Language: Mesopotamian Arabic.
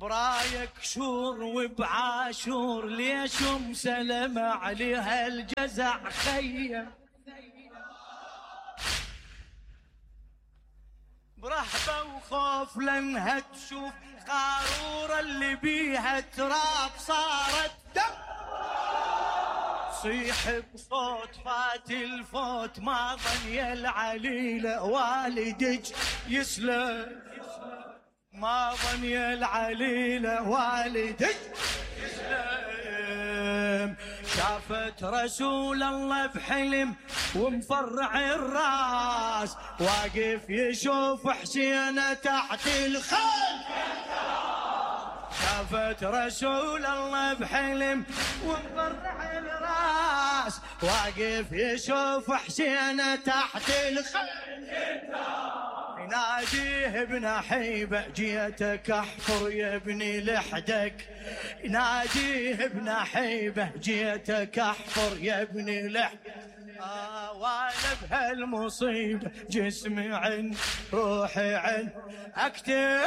برايك شور وبعاشور ليش مسلم عليها الجزع خيم برهبة وخوف لانها تشوف قارورة اللي بيها تراب صارت دم صيح بصوت فات الفوت ما ظني العليلة والدك يسلم ما ظني العليلة والدك يسلم شافت رسول الله بحلم ومفرع الراس واقف يشوف حسين تحت الخيل شافت رسول الله بحلم ومفرع الراس واقف يشوف حسين تحت الخيل يناديه ابن حيبة جيتك احفر يا ابني لحدك يناديه ابن حيبة جيتك احفر يا ابني لحدك وانا بهالمصيبة جسمي عن روحي عن اكتب